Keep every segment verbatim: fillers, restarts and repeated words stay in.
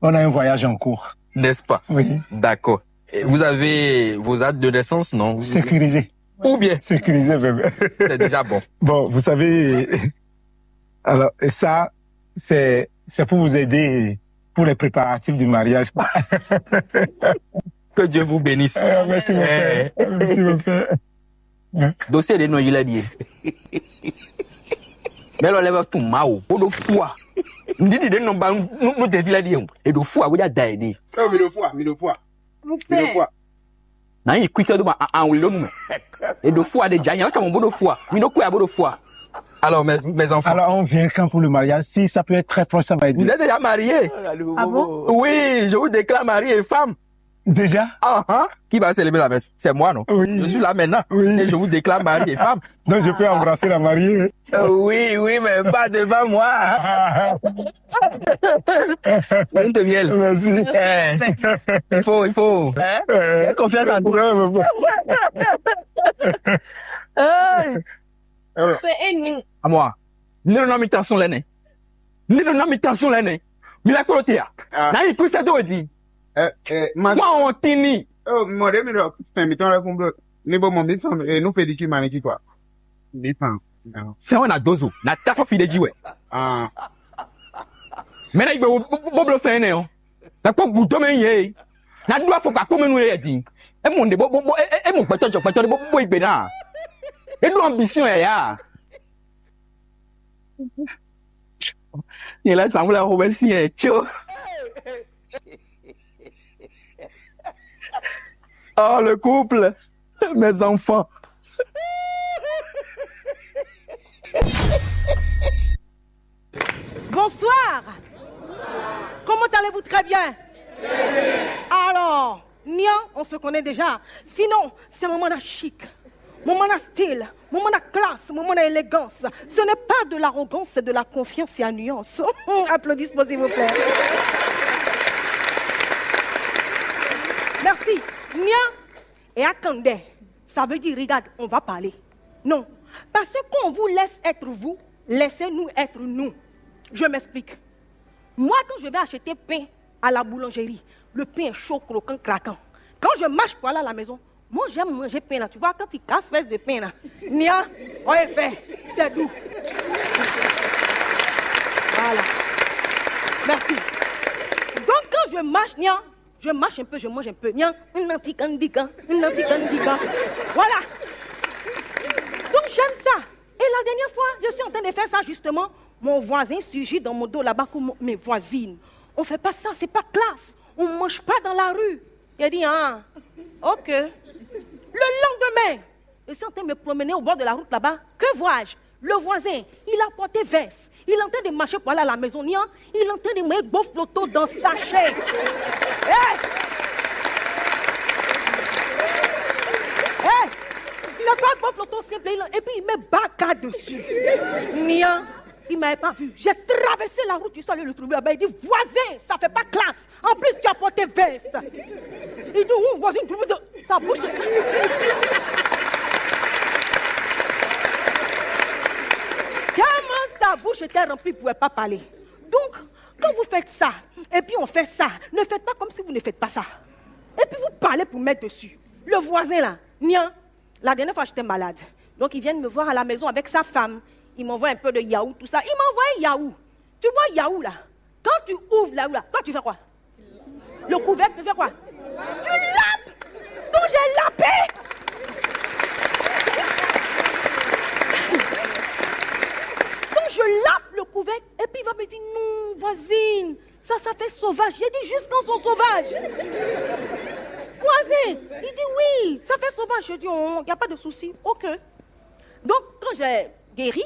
On a un voyage en cours. N'est-ce pas? Oui. D'accord. Et vous avez vos actes de naissance, non? Sécurisé. Ou bien? Sécurisé, même. C'est déjà bon. Bon, vous savez, alors, et ça, c'est, c'est pour vous aider pour les préparatifs du mariage, quoi. Que Dieu vous bénisse. Euh, merci, mon frère. Merci, mon frère. Dossier ɖé nɔ yi lɛ ɖie. Mɛ lɔ lɛ vɛ tun Mawu bó ɖó fua. Ŋdíɖi ɖé nɔ ba nú ɖevi lɛ ɖie o. È ɖo fua bó ɖo ada yě ɖe. Ɔ, mi ɖo fua, mi ɖo fua. Nǎ yi kwítɔ́ dó ba awun ló nu mɛ. È ɖo fua ɖe dza nya wɛ kamɔ bó ɖo fua. Mi ɖo kwɛ bó ɖo fua. Alors, mes, mes enfants. Alors, on vient quand pour le mariage? Si ça peut être très proche, ça va être bien. Vous êtes déjà mariés? Ah bon? Oui, je vous déclare mari et femme. Déjà? Ah, ah. Qui va célébrer la messe? C'est moi, non? Oui. Je suis là maintenant. Oui. Et je vous déclare mari et femme. Donc, je peux embrasser la mariée. Euh, oui, oui, mais pas devant moi. Lune de miel. Merci. Eh, il faut, il faut. Hein? Euh, il y a confiance en toi. Ouais, mais bon. Hey. À moi. Ni nɔ mi ta sun lɛ nɛ. Ni nɔ mi ta sun lɛ nɛ. Mi la kpolo te ya. Ah. Na yi kusa do di. Eh, eh, ma. Wa on tini. Oh, mɔɖe mi ɖɔ fɛn mitɔn lɛ́ kún bló. Mi bo mɔ mi fɛn e nu pedicure manicure quoi. Mi fɛn. Fɛn wɛ na dozo na ta fɔ fi ɖe ji wɛ. Ah. Mɛ na yi gbe wo bó bló fɛn nɛ o. Na kpɔ gudo mɛ yɛ. Na ɖu afɔkpa kpó mɛ nu yɛ din. E mɔ ɖe bó bó bó e mɔ gbɛtɔ jɔ gbɛtɔ ɖe bó bó yi gbe na. E ɖu ambition yɛ ya. Nyɛ lɛ tàn wlɛ xo bɛ si yɛ tso. Oh, le couple, mes enfants. Bonsoir. Comment allez-vous? Très bien. Alors, Nia, on se connaît déjà. Sinon, c'est maman la chic, maman la style, maman la classe, maman la élégance. Ce n'est pas de l'arrogance, c'est de la confiance et à nuance. Applaudissements, s'il vous plaît. Merci. Nia, et attendez, ça veut dire, regarde, on va parler. Non, parce que quand on vous laisse être vous, laissez-nous être nous. Je m'explique. Moi, quand je vais acheter pain à la boulangerie, le pain est chaud, croquant, craquant. Quand je marche pour aller à la maison, moi, j'aime manger pain là. Tu vois, quand il casse fesse de pain là, Nia, on est fait. C'est doux. Voilà. Merci. Donc, quand je marche, Nia, je marche un peu, je mange un peu. Nia, un anti candigan, un anti candigan. Voilà. Donc, j'aime ça. Et la dernière fois, je suis en train de faire ça justement. Mon voisin surgit dans mon dos là-bas comme mes voisines. On fait pas ça, c'est pas classe. On mange pas dans la rue. Il a dit, ah, ok. Le lendemain, je suis en train de me promener au bord de la route là-bas. Que vois-je? Le voisin, il a porté veste. Il est en train de marcher pour aller à la maison. Nia, il est en train de mettre beau flotto dans sachet. Hey! Hey! C'est pas beau flotto simple. Et puis il met baka dessus. Nia, il m'avait pas vu. J'ai traversé la route, je suis allé le trouver là-bas. Il dit, voisin, ça fait pas classe. En plus, tu as porté veste. Il dit, ouh, voisin, tu veux sa bouche. Tellement sa bouche était remplie, il ne pouvait pas parler. Donc, quand vous faites ça, et puis on fait ça, ne faites pas comme si vous ne faites pas ça. Et puis vous parlez pour mettre dessus. Le voisin là, Nia, la dernière fois j'étais malade. Donc ils viennent me voir à la maison avec sa femme. Ils m'envoient un peu de yaourt, tout ça. Ils m'envoient yaourt. Tu vois yaourt là. Quand tu ouvres la là, toi tu fais quoi? Le couvercle, tu fais quoi? Tu lapes. Donc j'ai lapé. Donc je lape le couvercle et puis il va me dire, non, voisine, ça, ça fait sauvage. J'ai dit, jusqu'à son sauvage. Voisin, il dit, oui, ça fait sauvage. Je dis, oh, il n'y a pas de souci. Ok. Donc, quand j'ai guéri,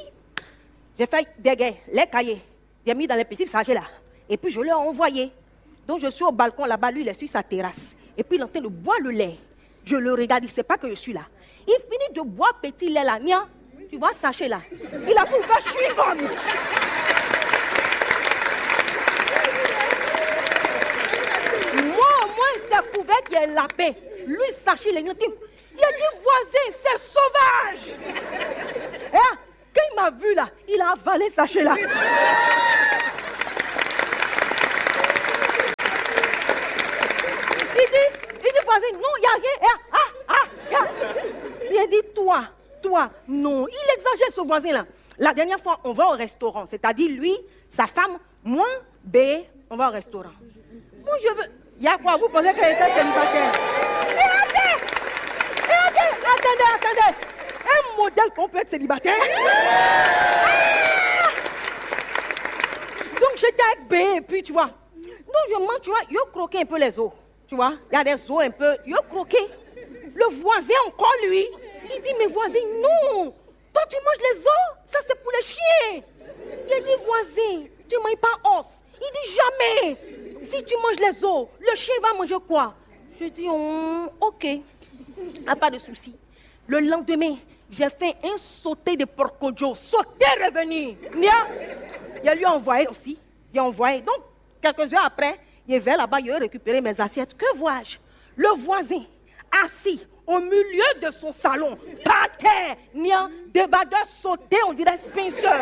j'ai fait des gains, les cahiers. J'ai mis dans les petits sachets là. Et puis, je l'ai envoyé. Donc, je suis au balcon là-bas, lui, il est sur sa terrasse. Et puis, il est en train de boire le lait. Je le regarde, il ne sait pas que je suis là. Il finit de boire petit lait là. Nia, tu vois, sachet là. Il a pu faire chewing-gum. Moi, au moins, c'est couvert qu'il y a lapin. Lui, sachet, il est inutile. Il a dit, voisin, c'est sauvage. Hein? Quand il m'a vu là, il a avalé sachet là. Rien, ah, ah, ah, ah. Il a dit, toi, toi, non, il exagère, ce voisin-là. La dernière fois, on va au restaurant, c'est-à-dire lui, sa femme, moi, B, on va au restaurant. Moi, je veux. Il y a quoi? Vous pensez que j'étais célibataire? Et attends, et attends, attendez, attendez. Un modèle qu'on peut être célibataire. Ah. Donc, j'étais avec B, et puis, tu vois. Donc, je mange, tu vois, je croquais un peu les os. Tu vois, il y a des os un peu. Je croquais. Le voisin encore, lui, il dit, mais voisin, non. Toi, tu manges les os. Ça, c'est pour les chiens. Il dit, voisin, tu ne manges pas os. Il dit, jamais. Si tu manges les os, le chien va manger quoi? Je dis, oh, ok. Ah, pas de souci. Le lendemain, j'ai fait un sauté de porco-dio. Sauté revenu. Nia, il a lui envoyé aussi. Il a envoyé. Donc, quelques heures après, il est vers là-bas, il a récupéré mes assiettes. Que vois-je? Le voisin, assis au milieu de son salon, par terre, nian, débardeur sauté, on dirait Spencer.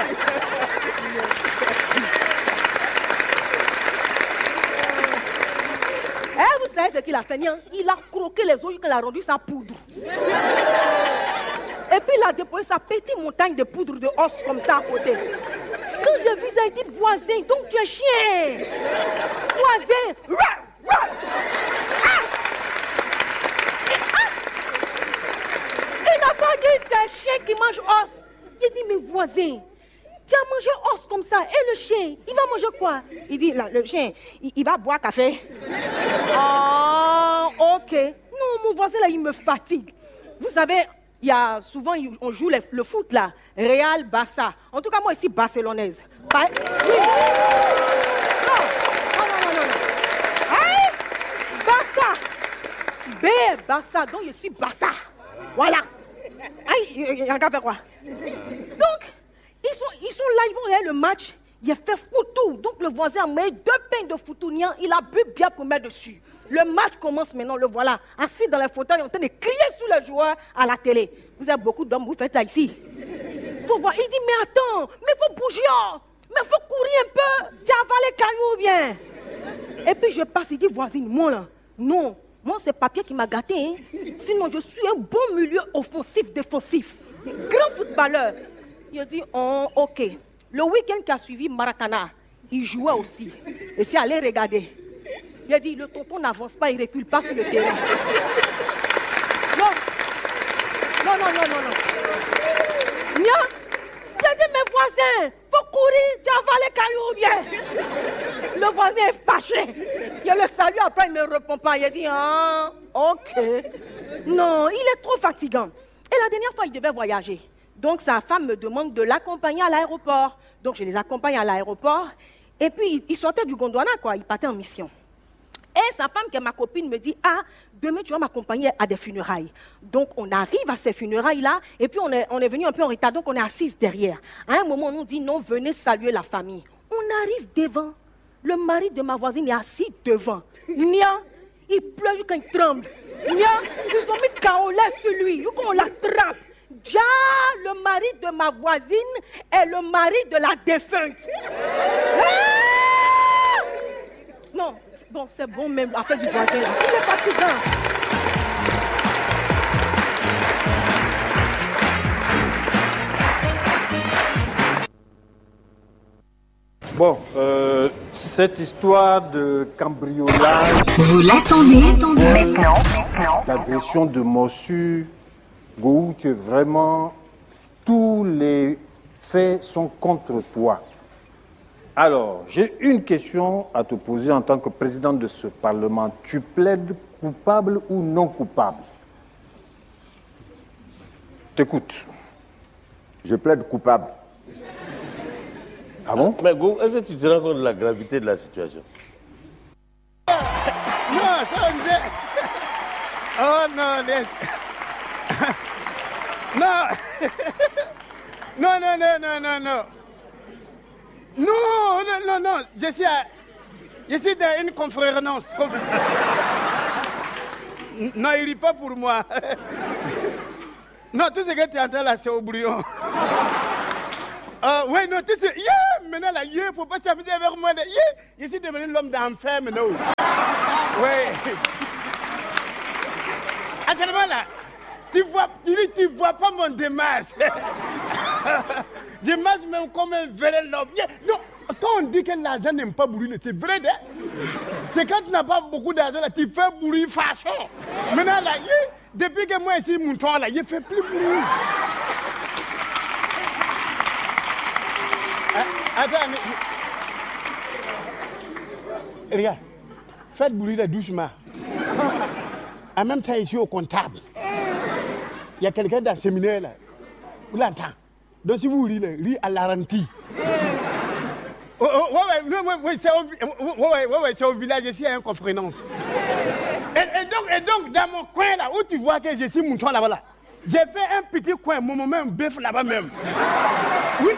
Eh, vous savez ce qu'il a fait, nian? Il a croqué les os, il a rendu ça poudre. Et puis il a déposé sa petite montagne de poudre de os comme ça à côté. Quand j'ai vu ça, il dit, voisin, donc tu es chien. Voisin. Ah. Ah. Il n'a pas dit c'est chien qui mange os. Il dit, mais voisin, tu as mangé os comme ça. Et le chien, il va manger quoi? Il dit, là, le chien, il, il va boire café. Ah, ok. Non, mon voisin là, il me fatigue. Vous savez, il y a souvent, on joue le, le foot là. Real, Barça. En tout cas, moi, je suis barcelonaise. Ba-, oui. Non, non, non, non, non, non. Hein? Barça. B, Barça. Donc, je suis Barça. Voilà. Aïe, il y a un gars fait quoi? Donc, ils sont, ils sont là, ils vont regarder le match. Il a fait foutu. Donc, le voisin a mis deux pains de foutu, nian. Il a bu bien pour mettre dessus. Le match commence maintenant, le voilà, assis dans les fauteuils, en train de crier sur les joueurs à la télé. Vous avez beaucoup d'hommes, vous faites ça ici. Faut voir. Il dit, mais attends, mais faut bouger, oh. Mais faut courir un peu. Tu as avalé caillou ou bien? Et puis je passe, il dit, voisine, moi là, non. Moi, c'est papier qui m'a gâté, hein. Sinon, je suis un bon milieu offensif, défensif. Grand footballeur. Il dit, oh, ok. Le week-end qui a suivi, Maracana, il jouait aussi. Et c'est allé regarder. Il a dit, le tonton n'avance pas, il recule pas sur le terrain. Non. Non, non, non, non, non. Nia, j'ai dit, mes voisins, faut courir, tu as avalé caillou ou bien? Le voisin est fâché. Je le salue, après, il ne me répond pas. Il a dit, ah, ok. Non, il est trop fatigant. Et la dernière fois, il devait voyager. Donc sa femme me demande de l'accompagner à l'aéroport. Donc je les accompagne à l'aéroport. Et puis il sortait du Gondwana, quoi, il partait en mission. Et sa femme, qui est ma copine, me dit, ah, demain tu vas m'accompagner à des funérailles. Donc on arrive à ces funérailles-là, et puis on est, on est venu un peu en retard, donc on est assise derrière. À un moment, on nous dit, non, venez saluer la famille. On arrive devant. Le mari de ma voisine est assis devant. Nia, il pleut quand il tremble. Nia, ils ont mis kaolin sur lui. Ils ont la trappe. Déjà, le mari de ma voisine est le mari de la défunte. Ah! Non, c'est bon, c'est bon même, affaire du voisin là. Il est fatigant. Bon, euh, cette histoire de cambriolage, Vous l'attendez, attendez. D'agression, de morsure, Gohou, tu es vraiment, tous les faits sont contre toi. Alors, j'ai une question à te poser en tant que président de ce Parlement. Tu plaides coupable ou non coupable? T'écoute. Je plaide coupable. Ah bon? Mais Go, est-ce que tu te rends compte de la gravité de la situation? Non, ça, on disait. Oh non, les- non. Non, non, non, non, non, non. Non, non, non, non. Je suis à, je suis dans une conférence. Conf- non, il rit pas pour moi. Non, tout ce que tu entends là, c'est au brouillon. Euh, ouais, non, tu sais, yeah, maintenant là, yeah, faut pas s'amuser avec moi. Là, yeah, je suis devenu l'homme d'enfer maintenant. Ouais. Actuellement là, tu vois, tu, tu vois pas mon démarche. Je marche même comme un vrai lobby. Non, quand on dit que l'argent n'aime pas brûler, c'est vrai, hein. C'est quand tu n'as pas beaucoup d'argent, là, tu fais brûler façon. Maintenant, là, hi, depuis que moi, ici, mon temps, là, je fais plus brûler. Ah, attends, mais, mais, regarde, faites brûler doucement. En même temps, ici au comptable, il y a quelqu'un dans le séminaire là. Vous l'entendez. Donc si vous riez, riez à la ralenti. Oh, oh, ouais, ouais, non, ouais, ouais, c'est au, ouais, ouais, ouais, ouais, c'est au village, ici, il y a une conférence. Et, et donc, et donc, dans mon coin là, où tu vois que je suis mouton là-bas là, j'ai fait un petit coin, mon moment bœuf là-bas même. Oui,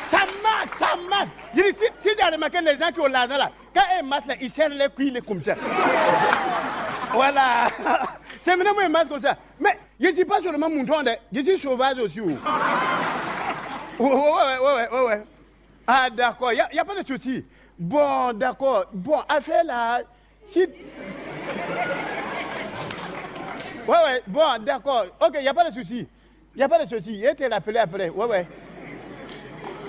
ça marche, ça marche. Je dis, si, si tu as remarqué les gens qui ont l'argent là, quand ils marchent là, ils serrent les cuisses comme ça. Voilà. C'est maintenant moi, ils marchent comme ça. Mais je ne suis pas seulement mouton, hein. Je suis sauvage aussi. Oh. Ouais, ouais, ouais, ouais, ouais, ouais. Ah, d'accord, il n'y a, y a pas de souci. Bon, d'accord. Bon, affaire là, si. Ouais, ouais, bon, d'accord. Ok, il n'y a pas de souci. Il n'y a pas de souci. Je vais te rappeler après. Ouais, ouais.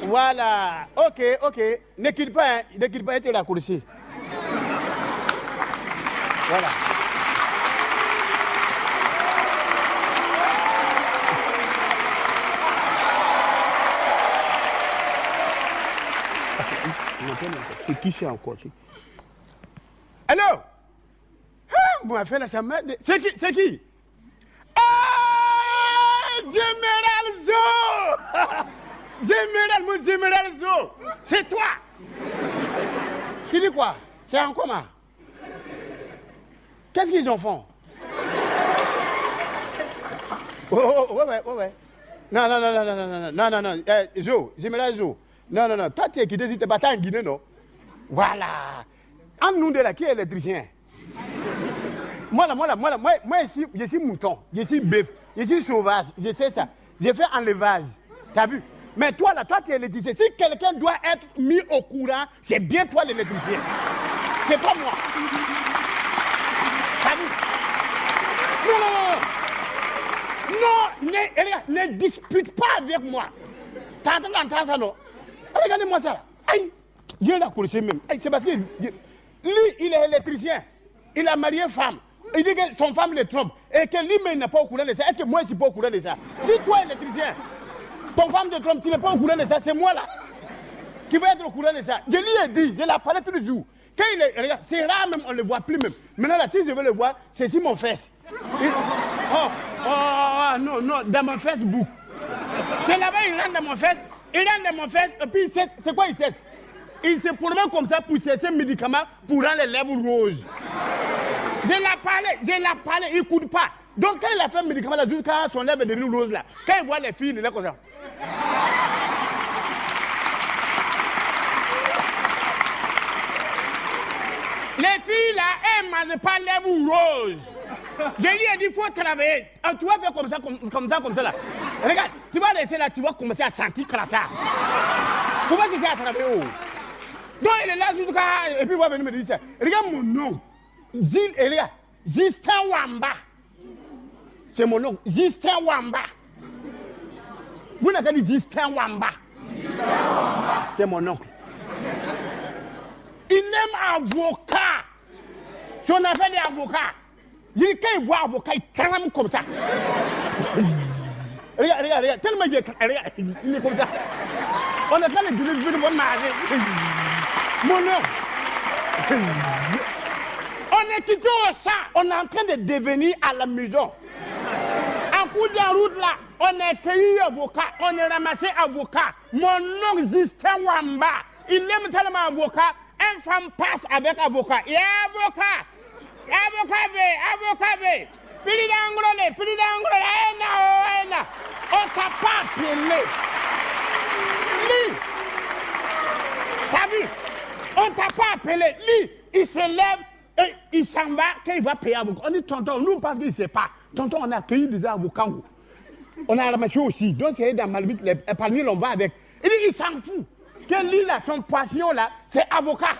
Voilà. Ok, ok. Ne quitte pas, hein. Ne quitte pas, je vais te raccrocher. Voilà. C'est qui c'est encore? Allô? Hein, mon affaire là, ça m'a. C'est qui? C'est qui? Ah, Général Zo! Général, mon Général Zo! C'est toi! Tu dis quoi? C'est en coma? Qu'est-ce qu'ils en font? Oh, oh, oh, ouais, ouais, ouais, ouais. Non, non, non, non, non, non, non, non, non, non, non. Eh, Zo, Général Zo. Non, non, non. Toi, tu es quitté si t'es pas en Guinée, non? Voilà. En nous de là, qui est électricien? Moi, là, moi, là, moi, là, moi, moi, ici, je suis mouton, je suis bœuf, je suis sauvage, je sais ça. Je fais enlevage. T'as vu? Mais toi, là, toi, tu es électricien. Si quelqu'un doit être mis au courant, c'est bien toi l'électricien. C'est pas moi. T'as vu? Non, non, non, non. Non, ne, regarde, ne dispute pas avec moi. T'as entendu ça, non? Regardez-moi ça, là. Aïe! Dieu l'a corrigé même. Aïe, c'est parce que lui, il est électricien. Il a marié femme. Il dit que son femme le trompe. Et que lui-même n'est pas au courant de ça. Est-ce que moi, je suis pas au courant de ça? Si toi, électricien, ton femme te trompe, tu n'es pas au courant de ça, c'est moi là qui vais être au courant de ça. Je lui ai dit, je l'ai parlé tous les jours. Quand il est, regarde, c'est rare même, on ne le voit plus même. Maintenant là, si je veux le voir, c'est sur mon fesse. Il- oh, oh, oh, non, non, dans mon Facebook. C'est là-bas, il rentre dans mon fesse. Il rentre dans mon fesse, et puis c'est c'est quoi il sait? Il se promet comme ça pour chercher un médicament pour rendre les lèvres roses. Je l'ai parlé, je l'ai parlé, il n'écoute pas. Donc quand il a fait un médicament là, jusqu'à son lèvre est devenue rose là, quand il voit les filles, il est comme ça. Les filles là, elles ne mangent pas lèvres roses. Je lui ai dit, il faut travailler. Ah, tu vas faire comme ça, comme, comme ça, comme ça là. Regarde, tu vas rester là, tu vas commencer à sentir crachat. Tu vas chercher à travailler. Oh. Donc il est là jusqu'à. Et puis il va venir me dire ça. Regarde mon nom. Zil, et regarde. Justin Wamba. C'est mon nom. Justin Wamba. Vous n'avez qu'à dire Justin Wamba. C'est mon nom. Il aime avocat. Son affaire d'avocat. Il dit, quand il voit avocat, il tremble comme ça. Regarde, regarde, regarde. Tellement il est, regarde, il est comme ça. On a fait le délire de mon mari. Mon nom. On est quitté au chat. On est en train de devenir à la maison. En cours de route là, on a cueilli avocat, on a ramassé avocat. Mon nom Justin Wamba. Il aime tellement avocat. Une femme passe avec avocat. Et avocat. Avocat B, avocat B. Pili d'angolé, pili d'angolé. Ena, oh, ena. On t'a pas appelé. Lui. T'as vu? On t'a pas appelé. Lui, il se lève et il s'en va. Quand il va payer avocat, on dit, tonton, nous, parce qu'il ne sait pas. Tonton, on a cueilli des avocats. On a ramassé aussi. Donc, c'est dans ma limite, les, parmi on va avec. Il dit, il s'en fout. Que lui, là, son passion, là, c'est avocat.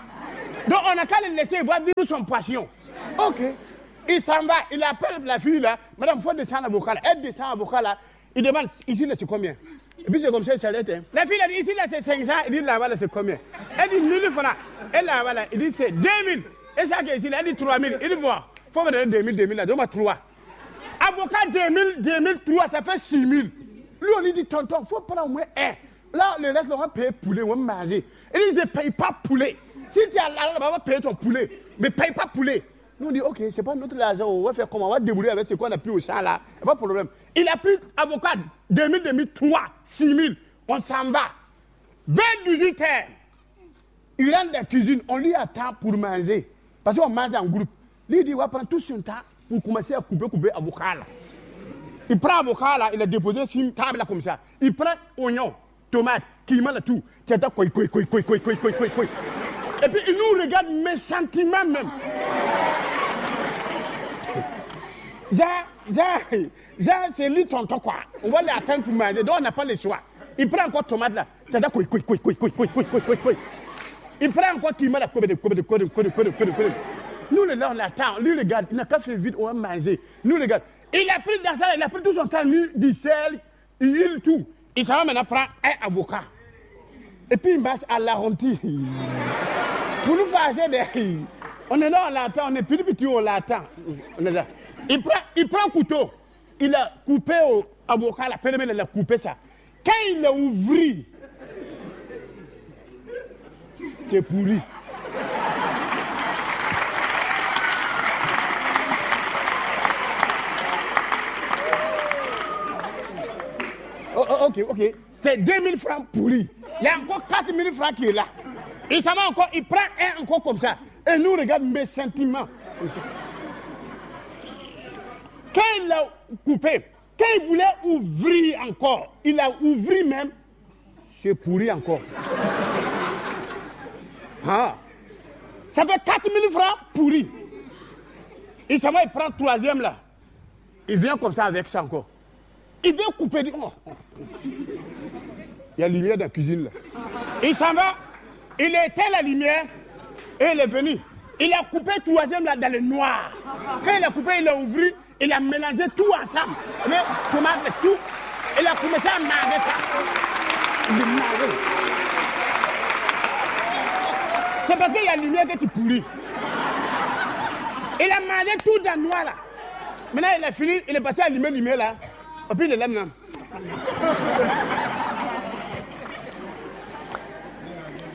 Donc, on n'a qu'à le laisser, il va vivre son passion. Ok. Il s'en va, il appelle la fille là, madame, faut descendre avocat là. Elle descend avocat là, il demande, ici là c'est combien? Et puis c'est comme ça, il s'arrête, hein. La fille a dit, ici là c'est cinq cents, il dit, là-bas là c'est combien? Elle dit, mille francs. Et là-bas là, il dit, c'est deux mille. Et ça qui est ici là, elle dit, trois mille. Il dit, bon, faut me donner deux mille, deux mille là, donne-moi trois. Avocat, deux mille, deux mille trois, ça fait six mille. Lui, on lui dit, tonton, faut prendre au moins un. Là, le reste, là, on va payer poulet, on va manger. Il dit, je ne paye pas poulet. Si tu as l'argent là-bas, on va payer ton poulet. Mais paye pas poulet. Nous, on dit, ok, c'est pas notre argent, on va faire comment? On va débrouiller avec ce qu'on a pris au champ là. Y a pas de problème. Il a pris avocat deux mille, deux mille trois, six mille. On s'en va. Vers dix-huit heures, il rentre dans la cuisine, on lui attend pour manger. Parce qu'on mange en groupe. Lui, il dit, il va prendre tout son temps pour commencer à couper, couper avocat là. Il prend avocat là, il a déposé sur une table là comme ça. Il prend oignon, tomate, qui met tout. Tu attends, quoi, quoi, quoi, quoi, quoi, quoi, quoi, quoi, quoi. Et puis il nous regarde, mais sentiment même. Jean, Jean, Jean, c'est lui tonton quoi. On va l'attendre pour manger, donc on n'a pas le choix. Il prend encore tomate là. Tu attends, quoi, quoi, quoi, quoi, quoi, quoi, quoi, quoi, quoi. Il prend encore qui met la cobe de cobe de cobe de cobe de cobe de cobe de. Nous, là, on attend. Lui, regarde, il n'a qu'à faire vite, on va manger. Nous, regarde. Il a pris dans ça, il a pris tout son temps, lui, du sel, il tout. Il s'en va maintenant prendre un avocat. Et puis il marche à l'arrondi. Pour nous fâcher des. On est là, on l'attend, on est petit, petit, on l'attend. On est là. Il prend, il prend un couteau. Il a coupé au avocat, la pelle, il a coupé ça. Quand il a ouvert, c'est pourri. Oh, oh, ok, ok. C'est deux mille francs pourris. Il y a encore quatre mille francs qui est là. Il s'en va encore, il prend un encore comme ça. Et nous regarde mes sentiments. Quand il a coupé, quand il voulait ouvrir encore, il a ouvert même. C'est pourri encore. Ah. Ça fait quatre mille francs pourris. Il s'en va, il prend troisième là. Il vient comme ça avec ça encore. Il vient couper. Oh, oh. Il y a lumière dans la cuisine là. Il s'en va. Il a éteint la lumière et il est venu. Il a coupé troisième là dans le noir. Quand il a coupé, il a ouvert, il a mélangé tout ensemble. Mais comment avec tout, il a commencé à manger ça. Il mangeait. C'est parce qu'il y a lumière que tu pourris. Il a mangé tout dans le noir là. Maintenant, il a fini, il est parti allumer la lumière là. Et puis, il est là maintenant.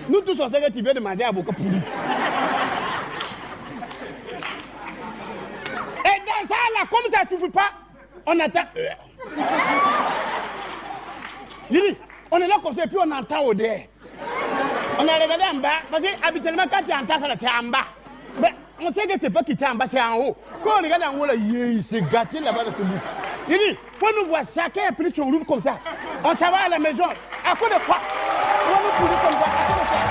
Nous tous, on sait que tu viens de manger avocat pourri. Et dans ça, là, comme ça ne suffit pas, on attend. Il dit, on est là comme ça et puis on entend odeur. On a regardé en bas, parce que habituellement, quand tu entends ça, là, c'est en bas. Mais on sait que c'est pas quitté en bas, c'est en haut. Quand on regarde en haut, là, il s'est gâté là-bas dans ce bout. Il dit, faut nous voir, chacun a pris son loup comme ça. On s'en va à la maison. À cause de quoi? On va nous pourrir comme ça. À cause de quoi?